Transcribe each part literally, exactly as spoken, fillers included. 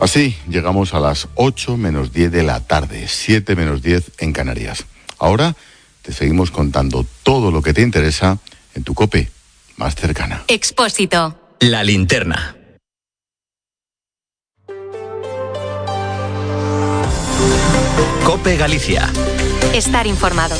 Así llegamos a las ocho menos diez de la tarde, siete menos diez en Canarias. Ahora te seguimos contando todo lo que te interesa en tu COPE más cercana. Expósito. La linterna. COPE Galicia. Estar informado.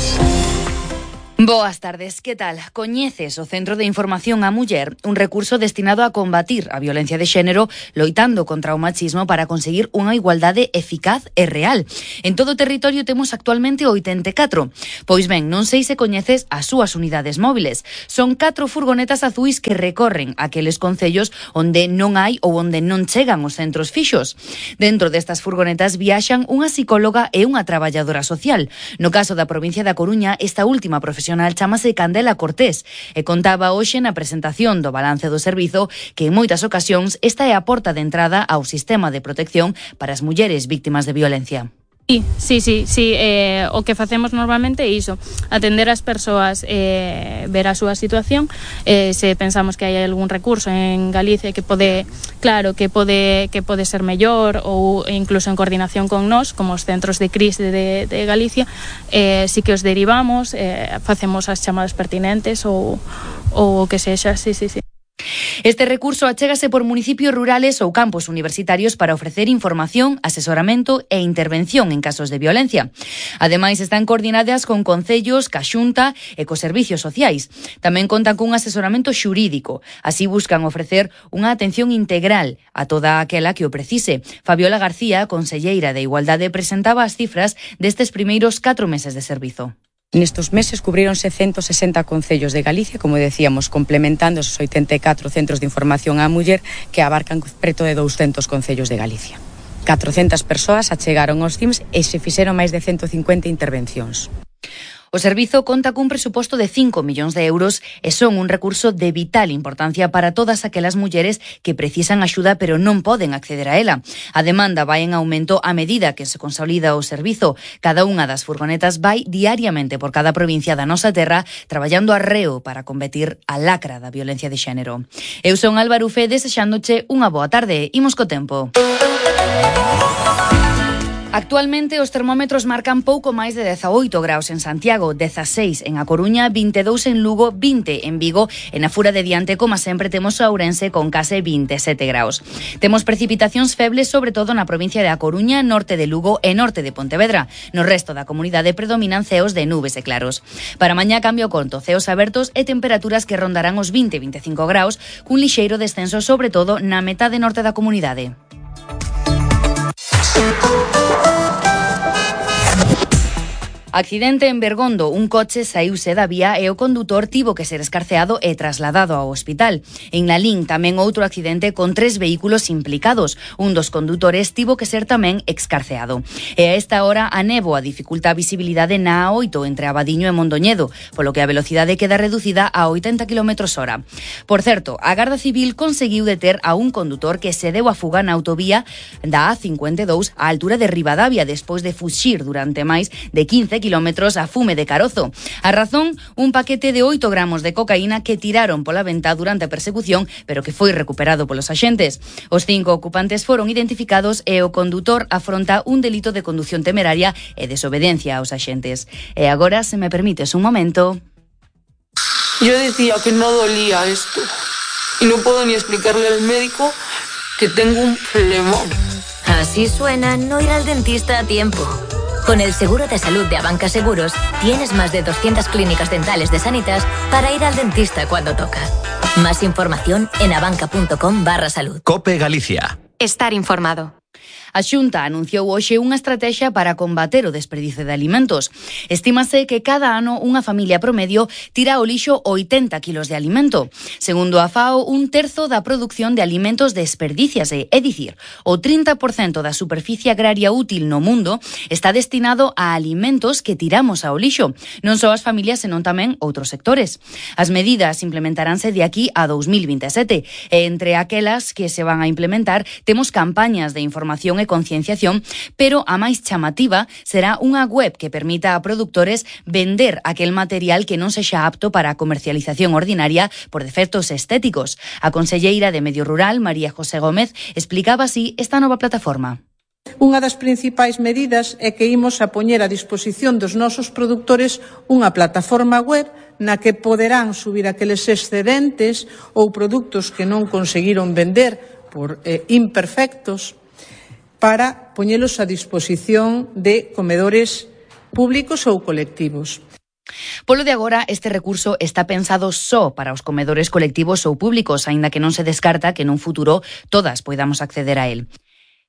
Boas tardes, que tal? Coñeces o Centro de Información á Muller, un recurso destinado a combatir a violencia de xénero loitando contra o machismo para conseguir unha igualdade eficaz e real. En todo o territorio temos actualmente oitenta e catro. Pois ben, non sei se coñeces as súas unidades móviles. Son catro furgonetas azuis que recorren aqueles concellos onde non hai ou onde non chegan os centros fixos. Dentro destas furgonetas viaxan unha psicóloga e unha traballadora social. No caso da provincia da Coruña, esta última profesional chamase Candela Cortés e contaba hoxe na presentación do balance do servizo que en moitas ocasións esta é a porta de entrada ao sistema de protección para as mulleres víctimas de violencia. Sí, sí, sí, sí. Eh, o que facemos normalmente é iso, atender as persoas, eh, ver a súa situación, eh, se pensamos que hai algún recurso en Galicia que pode, claro, que pode que pode ser mellor ou incluso en coordinación con nós, como os centros de crise de, de Galicia, eh, sí que os derivamos, eh, facemos as chamadas pertinentes ou ou o que sexa, sí, sí, sí. Este recurso achégase por municipios rurales ou campos universitarios para ofrecer información, asesoramento e intervención en casos de violencia. Ademais, están coordinadas con concellos, ca Xunta e cos servicios sociais. Tamén contan cun asesoramento xurídico. Así buscan ofrecer unha atención integral a toda aquela que o precise. Fabiola García, conselleira de Igualdade, presentaba as cifras destes primeiros catro meses de servizo. Nestos meses cubríronse ciento sesenta concellos de Galicia, como decíamos, complementando esos oitenta e catro centros de información á muller que abarcan preto de douscentos concellos de Galicia. catrocentas persoas achegaron aos C I M S e se fixeron máis de ciento cincuenta intervencións. O servizo conta cun presuposto de cinco millóns de euros e son un recurso de vital importancia para todas aquelas mulleres que precisan axuda pero non poden acceder a ela. A demanda vai en aumento a medida que se consolida o servizo. Cada unha das furgonetas vai diariamente por cada provincia da nosa terra traballando arreo para combatir a lacra da violencia de xénero. Eu son Álvaro Fe, desexándoche unha boa tarde. Imos co tempo. Actualmente os termómetros marcan pouco máis de dezaoito graus en Santiago, dezaseis en A Coruña, vinte e dous en Lugo, vinte en Vigo e na Fura de Diante, como sempre, temos a Ourense con case vinte e sete graus. Temos precipitacións febles sobre todo na provincia de A Coruña, norte de Lugo e norte de Pontevedra. No resto da comunidade predominan ceos de nubes e claros. Para mañá cambio conto, ceos abertos e temperaturas que rondarán os vinte a vinte e cinco graus, cun lixeiro descenso sobre todo na metade norte da comunidade. Accidente en Bergondo. Un coche saíuse da vía e o condutor tivo que ser escarceado e trasladado ao hospital. En Lalín tamén outro accidente con tres vehículos implicados. Un dos condutores tivo que ser tamén excarceado. E a esta hora a néboa dificulta a visibilidade na A oito entre Abadiño e Mondoñedo, polo que a velocidade queda reducida a oitenta quilómetros hora. Por certo, a Garda Civil conseguiu deter a un condutor que se deu a fuga na autovía da A cincuenta e dous á altura de Ribadavia despois de fuxir durante máis de quince kilómetros a fume de carozo. A razón, un paquete de oito gramos de cocaína que tiraron pola venta durante a persecución, pero que foi recuperado polos axentes. Os cinco ocupantes foron identificados e o condutor afronta un delito de condución temeraria e desobediencia aos axentes. E agora, se me permites un momento... Yo decía que no dolía esto y no puedo ni explicarle al médico que tengo un flemón. Así suena no ir al dentista a tiempo. Con el seguro de salud de Abanca Seguros, tienes más de doscientas clínicas dentales de Sanitas para ir al dentista cuando toca. Más información en abanca.com barra salud. COPE Galicia. Estar informado. A Xunta anunciou hoxe unha estrategia para combater o desperdicio de alimentos. Estímase que cada ano unha familia promedio tira ao lixo oitenta kilos de alimento. Segundo a FAO, un terzo da produción de alimentos desperdíciase, é dicir, o trinta por cento da superficie agraria útil no mundo está destinado a alimentos que tiramos ao lixo. Non só as familias, senón tamén outros sectores. As medidas implementaránse de aquí a dous mil vinte e sete e entre aquelas que se van a implementar temos campañas de información e e concienciación, pero a máis chamativa será unha web que permita a produtores vender aquel material que non sexa apto para a comercialización ordinaria por defectos estéticos. A conselleira de Medio Rural, María José Gómez, explicaba así esta nova plataforma. Unha das principais medidas é que imos a poñer a disposición dos nosos produtores unha plataforma web na que poderán subir aqueles excedentes ou produtos que non conseguiron vender por eh, imperfectos para poñelos a disposición de comedores públicos ou colectivos. Polo de agora, este recurso está pensado só para os comedores colectivos ou públicos, aínda que non se descarta que nun futuro todas poidamos acceder a él.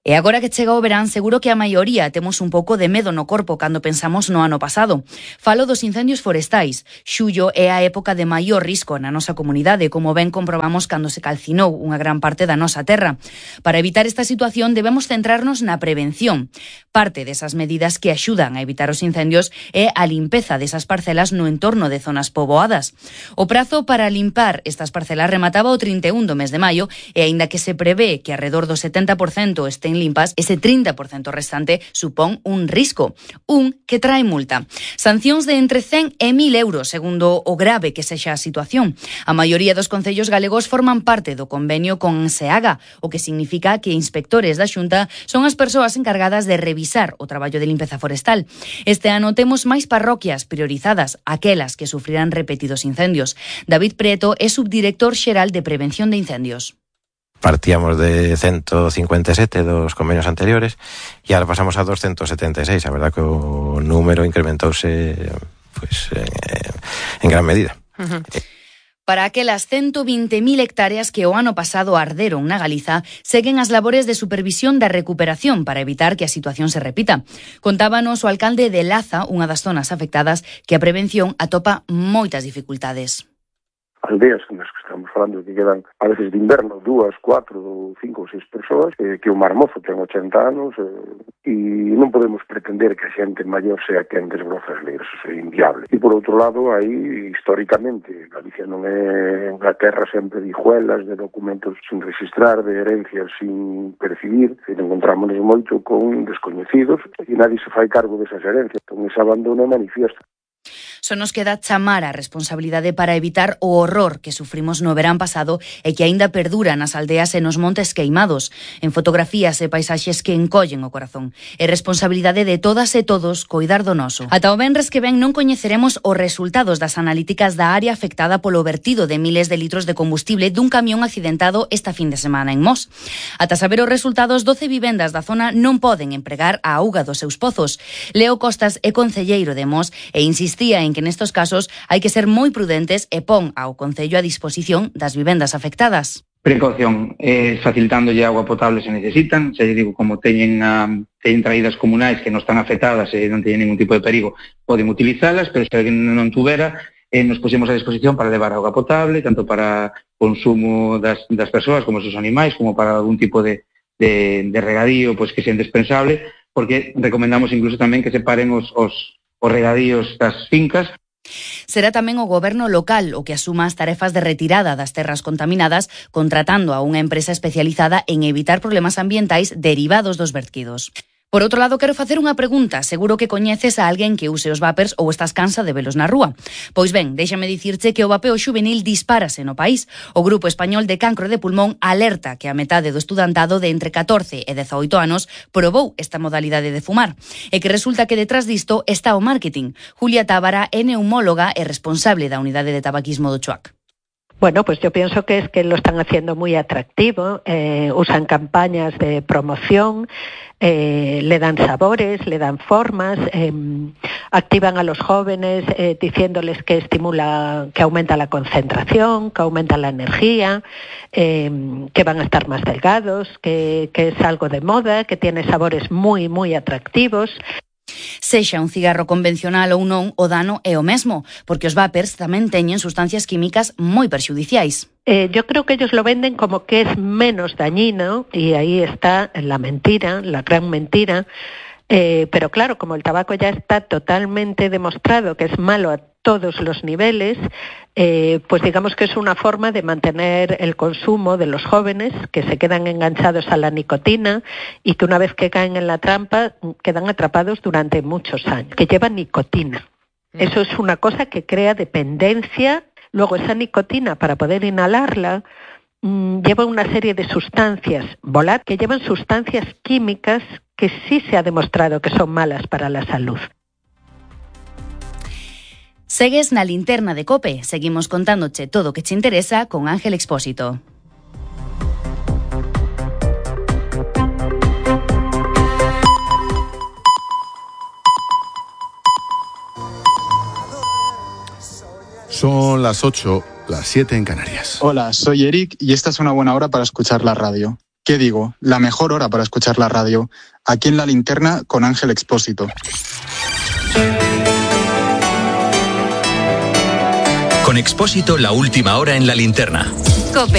E agora que chega o verán, seguro que a maioría temos un pouco de medo no corpo cando pensamos no ano pasado. Falo dos incendios forestais. Xullo é a época de maior risco na nosa comunidade, como ben comprobamos cando se calcinou unha gran parte da nosa terra. Para evitar esta situación debemos centrarnos na prevención. Parte desas medidas que axudan a evitar os incendios é a limpeza desas parcelas no entorno de zonas poboadas. O prazo para limpar estas parcelas remataba o trinta e un do mes de maio e aínda que se prevé que arredor do setenta por cento estén limpas, ese trinta por cento restante supón un risco, un que trae multa. Sancións de entre cen e mil euros, segundo o grave que sexa a situación. A maioría dos concellos galegos forman parte do convenio con SEAGA, o que significa que inspectores da Xunta son as persoas encargadas de revisar o traballo de limpeza forestal. Este ano temos máis parroquias priorizadas, aquelas que sufrirán repetidos incendios. David Prieto é subdirector xeral de Prevención de Incendios. Partíamos de ciento cincuenta e sete dos convenios anteriores e ahora pasamos a doscientos setenta e seis. A verdad que o número incrementouse pues, eh, en gran medida. Uh-huh. Para aquelas ciento vinte mil hectáreas que o ano pasado arderon na Galiza, seguen as labores de supervisión da recuperación para evitar que a situación se repita. Contábanos o alcalde de Laza, unha das zonas afectadas, que a prevención atopa moitas dificultades. Aldeas nas que estamos falando que quedan a veces de inverno dúas, cuatro, cinco ou seis persoas, eh, que o marmozo ten ochenta anos eh, e non podemos pretender que a xente maior sea quen desbroza as leis, eso é inviable. E por outro lado, aí históricamente Galicia non é unha terra sempre de hijuelas, de documentos sin registrar, de herencias sin percibir, e encontrámonos moito con descoñecidos e nadie se fai cargo desas herencias, con ese abandono manifiesto. Só nos queda chamar a responsabilidade para evitar o horror que sufrimos no verán pasado e que aínda perdura nas aldeas e nos montes queimados, en fotografías e paisaxes que encollen o corazón. É responsabilidade de todas e todos coidar do noso. Ata o venres que ven non coñeceremos os resultados das analíticas da área afectada polo vertido de miles de litros de combustible dun camión accidentado esta fin de semana en Mos. Ata saber os resultados, doce vivendas da zona non poden empregar a auga dos seus pozos. Leo Costas é concelleiro de Mos e insistía en que nestos casos hai que ser moi prudentes e pon ao Concello a disposición das vivendas afectadas. Precaución, eh, facilitándolle agua potable se necesitan, se digo, como teñen, um, teñen traídas comunais que non están afectadas e non teñen ningún tipo de perigo, poden utilizalas, pero se alguén non tuvera, eh, nos puxemos a disposición para levar agua potable, tanto para consumo das, das persoas como dos animais, como para algún tipo de, de, de regadío pues, que sea indispensable, porque recomendamos incluso tamén que separen os, os os regadíos das fincas. Será tamén o goberno local o que asuma as tarefas de retirada das terras contaminadas, contratando a unha empresa especializada en evitar problemas ambientais derivados dos vertidos. Por outro lado, quero facer unha pregunta. Seguro que coñeces a alguén que use os vapers ou estás cansa de velos na rúa. Pois ben, déxame dicirche que o vapeo xuvenil dispárase no país. O Grupo Español de Cancro de Pulmón alerta que a metade do estudantado de entre catorce e dezaoito anos probou esta modalidade de fumar. E que resulta que detrás disto está o marketing. Julia Tábara é neumóloga e responsable da unidade de tabaquismo do Chuac. Bueno, pues yo pienso que es que lo están haciendo muy atractivo, eh, usan campañas de promoción, eh, le dan sabores, le dan formas, eh, activan a los jóvenes eh, diciéndoles que estimula, que aumenta la concentración, que aumenta la energía, eh, que van a estar más delgados, que, que es algo de moda, que tiene sabores muy, muy atractivos. Sexa un cigarro convencional ou non, o dano é o mesmo, porque os vapers tamén teñen sustancias químicas moi perxudiciais. Eh, yo creo que ellos lo venden como que es menos dañino, y ahí está la mentira, la gran mentira. Eh, pero claro, como el tabaco ya está totalmente demostrado que es malo a todos los niveles, eh, pues digamos que es una forma de mantener el consumo de los jóvenes que se quedan enganchados a la nicotina y que una vez que caen en la trampa quedan atrapados durante muchos años, que llevan nicotina. Eso es una cosa que crea dependencia. Luego esa nicotina, para poder inhalarla, mmm, lleva una serie de sustancias volátiles que llevan sustancias químicas que sí se ha demostrado que son malas para la salud. Segues na linterna de COPE. Seguimos contándoche todo o que te interesa con Ángel Expósito. Son las ocho, las siete en Canarias. Hola, soy Eric y esta es una buena hora para escuchar la radio. ¿Qué digo? La mejor hora para escuchar la radio. Aquí en La Linterna con Ángel Expósito. Con Expósito, la última hora en La Linterna. COPE.